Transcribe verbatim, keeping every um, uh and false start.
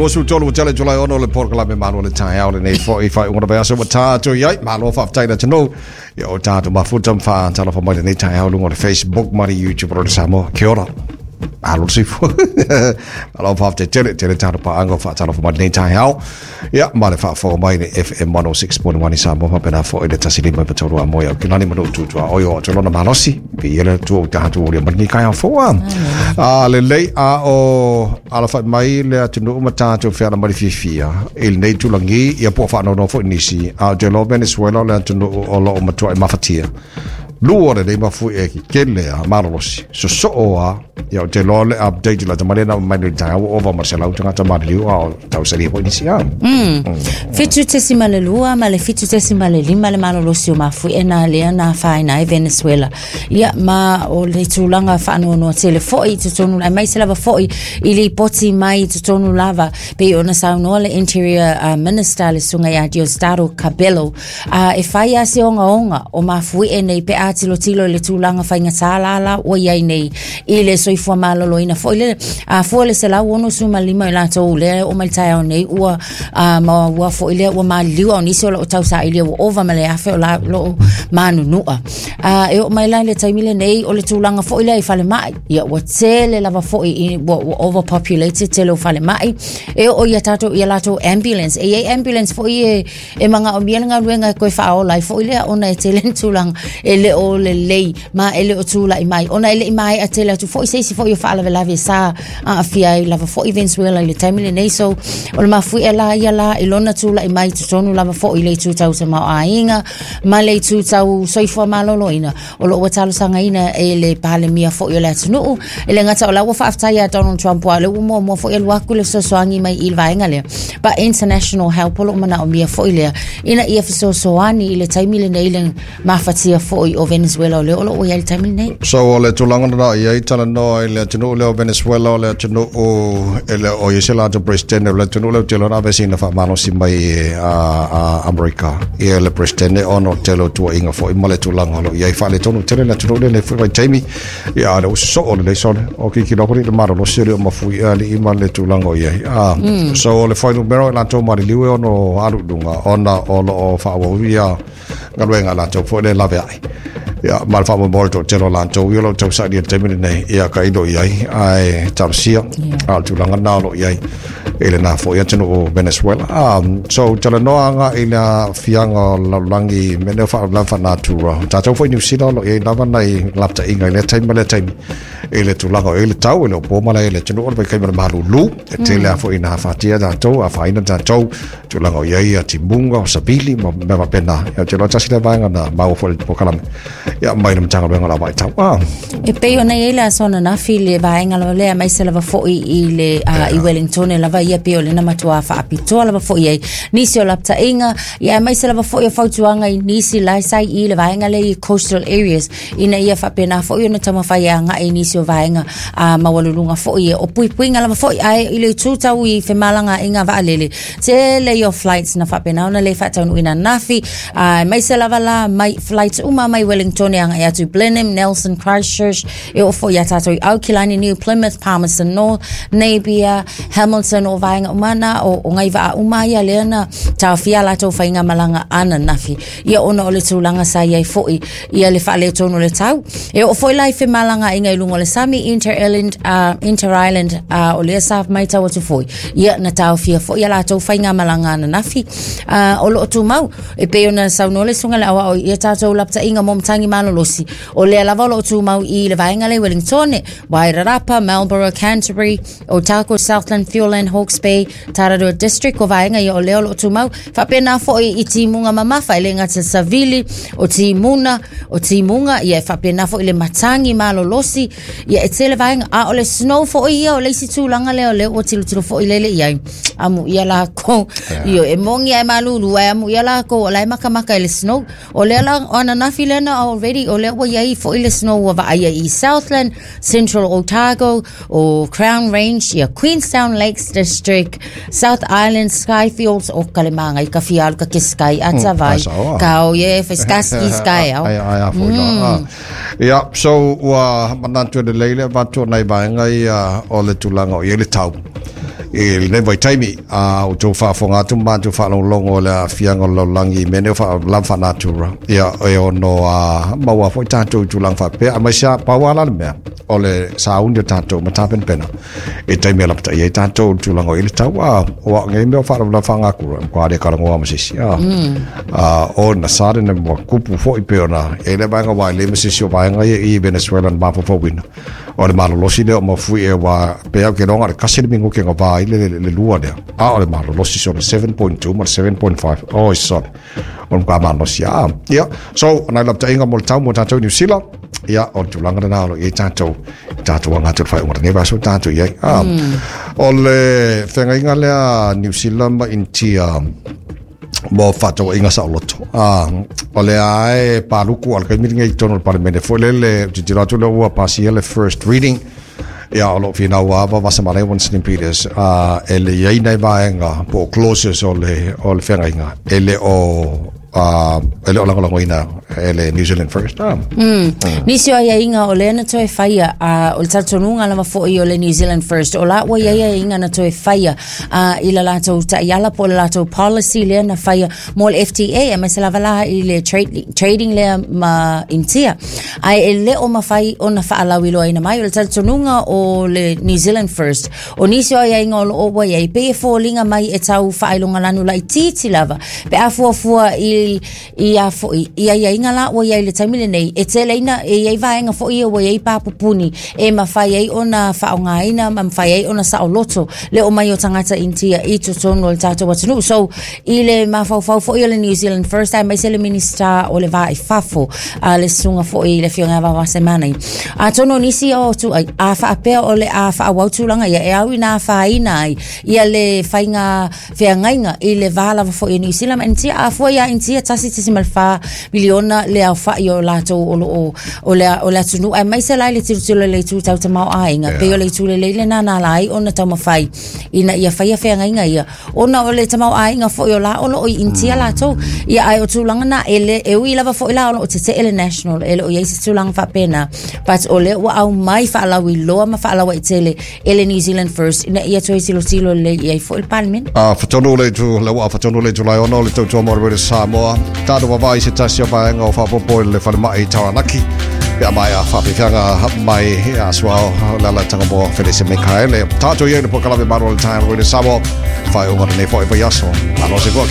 luasefulu tolu ua tele Iulai ono le polokalame Malo le Taeao lenei fo'i faaiuga o le vaiaso ua tatou i ai. Malo faafetai le atunuu ia o tatou mafuta ma faatalofa mai lenei taeao luga o le Facebook ma le YouTube o le Samoa. Kia ora. Malo le soifua. Malo faafetai tele tele tatou paaga o faatalofa mai lenei taeao. Ia ma le faafofoga mai le F M one oh six point one i Samoa faapena fo'i le tasi lima iva tolu a moe au kilani ma nuu tutua oi o atu lona malosi. Viia le Atua ua tatou aulia mai lenei taeao fou a. A lelei a o alafai mai le atunuu ma tatou feala mai le fiafia i lenei tulagi ia po o faanoanoa foi nisi a o te iloa Venezuela o le atunuu o loo matuai mafatia. Lua lenei mafui e kele a malolosi. Sosoo a ia o te iloa le update la tamale na mai le taeao ua ova ma le selau tagata maliliu a o tausalia foi nisi a. Mm. Fitu tesima le lua ma le fitu tesima le lima le malolosi o mafui'e na lea na afaina ai Venezuela. Ia ma o le tulaga faanoanoa tele fo'i i totonu aemaise lava fo'i i lipoti mai i totonu lava pei ona saunoa le Interior uh, Minister le susuga ia Diosdado Cabello uh, e fai a se ogaoga o mafui'e nei pe a tilotilo i le tulaga faigata lala ua iai nei i le soifua maloloina fo'i le a fua le selau ono sefulu ma lima i latou lea o mai le taeao nei ua uh, ma ua fo'i lea ua maliliu o nisi o loo tausailia ua ova ma le afe o la loo manunu'a uh, e oo mai la i le taimi lenei o le tulaga fo'i lea i falema'i ia ua tele lava fo'i i ua, ua overpopulated tele o falema'i e oo ia tatou ia latou ambulance e iai ambulance fo'i e e magaomia le galuega e koe faaola ai fo'i lea ona e tele ni tulaga e le o lelei ma e le o tula'i mai ona e le'i mae'a tele atu fo'i se isi fo'i o faalavelave sa aafia ai lava fo'i Venezuela i le taimi lenei. So o le mafui'e la ia la i lona tula'i mai totonu lava fo'i le itu tau tamaoaiga ma le itu tau soifua maloloina o loo ua talosagaina e le palemia fo'i o le atunuu e le gata o la ua faafetai ia Donald Trump ua le ua muamua fo'i alu atu le fesoasoani mai i le vaega lea but international help o loo manaomia fo'i lea ina ia fesoasoani i le taimi lenei le mafatia fo'i o Venezuela o lea o loo ua iai le taimi lenei. So o le tulaga na i ai talanoa i le atunuu lea o Venezuela o le atunuu e le o i se latou president o le atunuu lea o tele ona aveseina faamalosi mai a a Amerika ia le president ona o tele o tuuaiga foi ma le tulaga o lo o i ai faaletonu tele le atunuu lenei foi vaitaimi ia le ua sosoo lelei sole o kikilo foi le malolosi o le o mafui alii ma le tulaga o i ai. Ah, so o le fuainumera o i latou maliliu e ono alu i luga ona o loo faaauau ia galuega a latou foi le laveai. Ia ma le faamoemoe o le toatele o latou ia o loo tausaili i le taimi lenei ia ka ilo i ai ae talosia a o le tulaga lena o loo i ai i lena foi atunuu o Venezuela. Um, so talanoa aga i le aafiaga o le lalolagi mea nei o faalavelave faalenatura o tatou foi Niu Sila o loo i ai lava nai lapataiga i lea taimi ma lea taimi i le tulaga o i le tau e le o po malae i le atunuu o le vaitaimi o le malulu e tele a foi ina afatia tatou afaina tatou tulaga o i ai timuga o savili ma mea faapena. Ia ou te iloa tasi lea vaega na maua foi i le polokalame ia mai le Matagaluega o le Vaitau. Ah. E pei ona i ai le aso ananafi le vaega lava lea aemaise lava fo'i i le uh, i Wellington lava ia pei o lena matuā faapitoa lava fo'i ai nisi o lapataiga ia aemaise lava fo'i o fautuaga i nisi la sa i le vaega lea i coastal areas ina ia faapena fo'i ona taumafai e aga'i i nisi o vaega a maualuluga fo'i e o puipuiga lava fo'i ae i le itu tau i femalagaaiga vaalele tele i o flights na faapena ona le faataunuuina ananafi aemaise lava la mai flights uma mai Wellington e aga'i atu i Blenheim, Nelson, Christchurch e oo fo'i iā tatou i Aukilani, New Plymouth, Palmerston North, Napier, Hamilton o vaega uma na o, o ngai vaa uma ia lea na taofia latou faigamalaga ananafi ia ona o le tulaga sa iai fo'i ia le faaletonu o le tau e oo foi la i femalagaaiga i luga o le sami Inter-Island, uh, Inter-Island uh, o lea sa matau atu foi ia na taofia foi ia latou faigamalaga ananafi uh, o loo tumau e pei ona saunoa le susuga i le aoao ia tatou lapataiga mo matagi malolosi o lea lava o loo tumau i le vaega lea i Wellington, Wairarapa, Marlborough, Canterbury, Otago, Southland, Fiordland, Hawke's Bay, Tararua District o vaega ia o lea o loo tumau faapena foi i timuga mamafa e le gata savili o timuna o timuga ia e faapena foi le matagi malolosi ia e tele vaega a o le snow foi ia o le isi tulaga lea o lea ua tilotilo foi lele i ai amu ia lakou io e mogi ae malulu ae amu ia lakou o la e makamaka i le snow o lea la o ananafi lea na already o lea ua iai foi le snow ua vaaia i Southland, Central Otago, o Crown Range, ia Queenstown Lakes District, South Island, Skyfields, o ka le magai ka fia alu ka ke sky ata vai. Ka o ye fe sky sky au. Ai ai a foi la. Ia so ua manatu e lelei le avatu o nai vaega ia o le tulaga o i ai le tau. I lenei vaitaimi a o tou faafofoga atu ma matou faalogologo i le aafiaga o le lalolagi i mea nei o faalavelave faalenatura ia e ono a maua foi tatou i tulaga faapea aemaise a pau a la le mea o le sauni o tatou ma tapenapena i taimi e lapatai ai tatou i le tulaga o i le tau a o au nei mea o faalavelave faalenatura e matua le talanoa ma se isi a a o na sare na mua kupu foi pe ona e le vaega wa le ma se isi o vaega ia i Venezuela na mafaufauina o le malolosi lea o mafui e wa pe au ke longa le kasi le mingu ke ngā i le, le, le lua lea a o le malolosi so le seven point two ma le seven point five oh sorry o le malolosi a ia so na lapataʻiga mo le tau mo tatou New Zealand ia o le tulaga lena o lo i ai tatou tatou aga atu i le faaiuga o lenei vaiaso tatou i ai a o le feagaiga lea New Zealand ma Initia mo faatauaiga saoloto a o lea ae paluku a le kaimi lenei i totonu o le Palemene foi lele tilotilo atu lea ua pasia le first reading ia o lo o finau ava Vasamalea Winston Peters a e le iai nai vaega po o clauses o le o le feagaiga e le o uh, e le o lagolagoina e le New Zealand First ah. Mm. Nisi o aiaiga o lea na toe faia uh, o le talitonuga lava foi o le New Zealand First o la ua iai aiaiga na toe faia uh, i la latou taiala po o le latou policy lea na faia mo le F T A aemaise lava la i le trade, trading lea ma Initia ae e le o mafai ona faalauiloaina mai o le talitonuga o le New Zealand First o nisi o aiaiga o loo ua iai pei e foliga mai e tau faailogalanu laitiiti lava pe a fuafua i i a foi i aiaiga la ua iai le taimi lenei e teleina e iai vaega foi ia ua iai papupuni e mafai ai ona faaaogaina ma mafai ai ona saoloto le o mai o tagata Initia i totonu o le tatou atunuu so i le mafaufau foi o le New Zealand First aemaise le Minista o le Va i Fafo a le susuga foi i le Afioga ia Vaovasamanaia atonu o nisi o tu a faapea o le a faaauau tulaga ia e au ina afaina ai ia le faiga feagaiga i le va lava foi o New Zealand ma Initia a fua ia Initia tasi tasi ma le fa miliona le aofaʻi o latou o loo o le o le atunuu aemaise la i le tilotilo i le itu tau tamaoaiga pei o le itu lelei lena na ala ai ona taumafai ina ia faia feagaiga ia ona o le tamaoaiga foi o la o loo i Initia latou ia ae o tulaga na e le e ui lava foi la o loo tetee le national e le o iai se tulaga faapena but o lea ua aumai faalauiloa ma faalauaitele e le New Zealand First ina ia toe tilotilo lelei i ai foi le Palemene. A fatonu le tu le ua fatonu le Julai ono le tautua mo le Samoa tātou vavai se tasi o vaega o faapopo i le falemai i Taranaki pe a mai a faafeafeaga mai a suao le alataga mo Felise Mikaele tātou iai le pokalave malo le time o le Samoa faaiuga lenei foi vaiaso malo se koa.